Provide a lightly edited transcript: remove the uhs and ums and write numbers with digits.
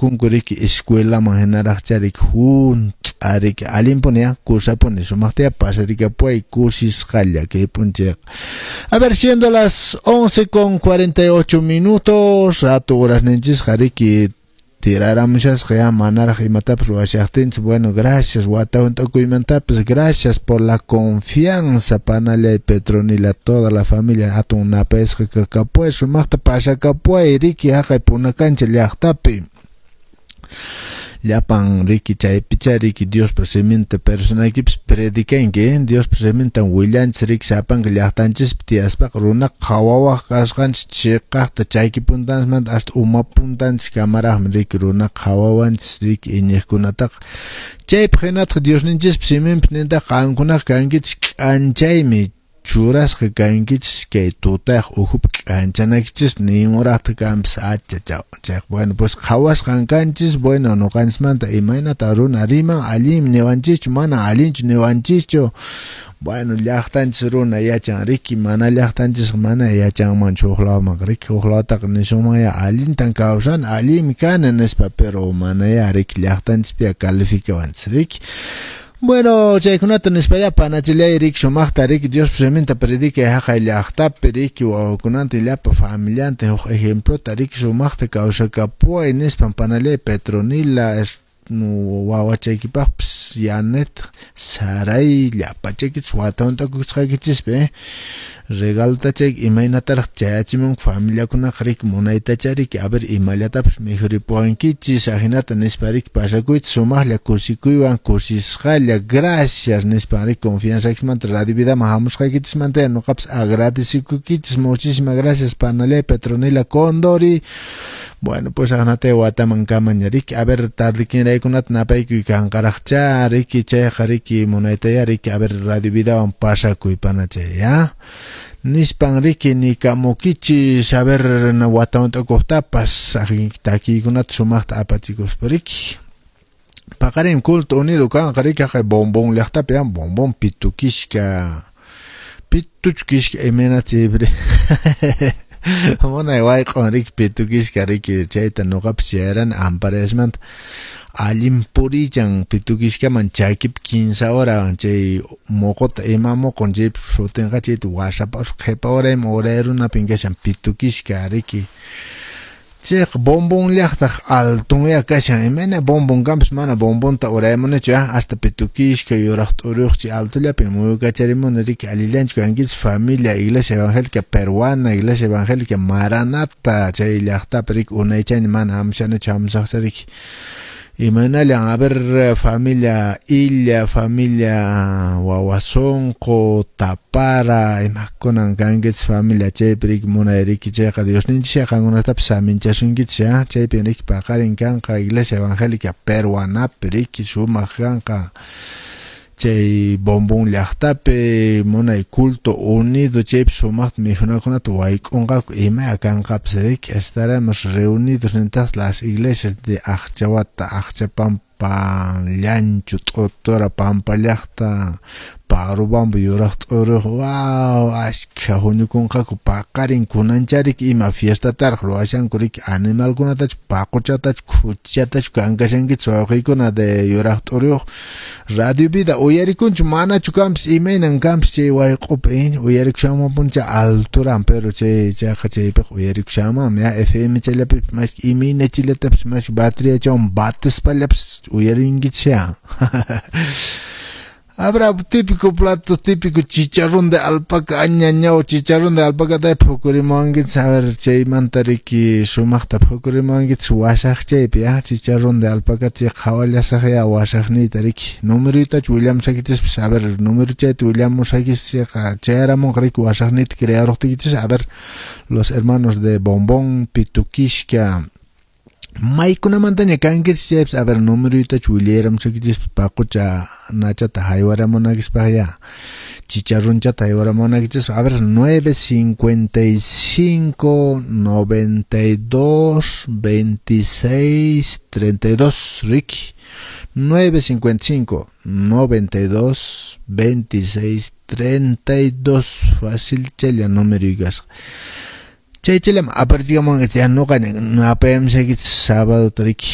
tukunku riki escuelaman hinaraqcha riki hunt'a riki allinpuni ya kusapuni sumaqta pasarikapuway kusisqalla kay p'unchayqa. A ver, siendo las 11:48, rato horasninchisqa riki tiraramushasqa ya manaraq imatapas ruwashaqtinchis. Bueno, gracias wata hunt'akuymantapas, gracias por la confianza, panallay Petronila, toda la familia hatun napayasqa kakapuway, sumaqta pasakapuway riki haqay Punakancha llaqtapi. Llapan riki chaypicha riki Diospa siminta personaykipis predicanki, eh? Diospa simintan willanchis riki sapanka llaqtanchispi tiyaspaqa runaqa qhawawaq kasqanchis chiqaqta chayki puntanchismanta hasta uma puntanchis kamaraqmi riki runaqa qhawawanchis riki iñiqkunataqa. Chaypaq hinataq Diosninchispa siminpi nintaq qankunaqa kankichis k'anchaymi churasqa kankichis kay tutayaq ukhupi k'anchanaykichis ninuraqta kanpis achachaw. Chayqa bueno, pues qhawasqan kanchis, bueno, nuqanchismanta imaynata runa riman, allinmi niwanchischu, mana allinchu niwanchischu. Bueno, llaqtanchis runa yachan riki, mana llaqtanchisqa mana yachanmanchu huk lawmanqa riki, huk lawtaqa nisunman ya allintan kawsani, allinmi kani nispa, pero mana ya riki llaqtanchispi ya calificawanchis riki. Bueno, chaykunata nispa ya panachillay riki sumaqta riki Diospa siminta predicay haqay llaqtapi riki wawakunanta llapa familianta huk ejemplota riki sumaqta kawsakapuway nispan panallay Petronila wawachaykipaqpis Yanet Saray llapachaykichis wata hunt'akusqaykichispi, eh? Regalota chay imaynataraq chayachimunku familiakunaqa riki munaytacha riki a ver imallatapas mikhuripuwankichis ajinata nispa riki pasakuychis sumaqlla kusikuywan kusisqalla gracias nispa riki confianzakismanta Radio Vidaman hamusqaykichismanta nuqapas agradecikuykichis, muchísimas gracias panallay Petronila Condori. Bueno, pues ajnata wataman kamaña riki a ver tardikinraykunata napaykuy kanqaraqcha riki chayqa riki munaytaya riki a ver Radio Vidawan pasakuy panachay ya nispan riki nikamukichis a ver wata hunt'akuqtapas takiykunata sumaqta apachikuspa riki. Paqarin culto unido kanqa riki haqay Bombón llaqtapi ya Bombón pitukishka pituchkishka imayna chaypiri munay wayq'un riki pitukishka riki chayta nuqapas chayrani amparayasmanta allin purichan pitukishkaman chakipi 15 hora chay muquta ima muqun chaypi sutinqa chayta wasapas qhipa horayman uray runapin kashan pitukishka riki. Chayqa Bombón llaqtaq altonya kashan imayna Bombón kanpas mana Bombonta uraymunichu hasta Pitukishka yuraq t'uruyuq chay altollapin muyukacharimuni riki allillanchu kankichis familia Iglesia Evangélica Peruana, Iglesia Evangélica Maranata chay llaqtapi riki unaychayni mana hamushanichu hamusaqcha riki. Imaynallan a ver familia Illa, familia Wawasonqo, Tapara, imakunan kankichis familia chaypi riki munay riki chayqa Diosninchis qankunatapas saminchasunkichis ya chaypin riki paqarin kanqa Iglesia Evangélica Peruanapi riki sumaq kanqa chay Bombón llaqtapi munay culto unido chaypi sumaqta mikhunakunata wayk'unqaku ima kanqapas riki estaremos reunidos nintaq las iglesias de Aqchawata, Aqchapampa, Llanchu, T'utura, Pampa llaqta, Parubamba, Yuraq T'uruq, wow, ashkha huñukunqaku paqarin kunanchariki ima fiestataraq ruwashanku riki animalkunatachu paquchatachu khuchatachu kankashankichis wawqiykuna de Yuraq T'uruyuq Radio Vida uyarikunchu manachu kanpis imaynan kanpis chay wayq'upi uyarikushanmanpuncha alturan pero chay chayqa chaypiqa uyarikushanmanmi ya FM chayllapipis mas imayna chillatapis mas bateriachawan batispallapis uyarinkichis ya. Habrá típico plato típico chicharrón de alpaca, añañao, chicharrón de alpaca ta phukurimuwankichis a ver chaymanta riki sumaqta phukurimuwankichis wasaq chaypi ya chicharrón de alpaca chay qhawallasaq ya wasaqniyta riki numeruytachu willamusaykichispis a ver número chayta willamusaykichis chayqa chayaramunqa riki wasaqniyta crearuqtiykichis a ver los hermanos de Bombón Pitukishka maykunamantaña kankichis chaypis a ver numeruytachu willayaramusaykichis paqucha nachata haywaramunaykispaq ya chicharronchata haywaramunaykichis a ver 955 92 26 32 riki 955 92 26 32 fácil chaylla número kasqa. Chay chayllama aparchigamunqa chay nuqa napayamshaykichis sábado riki.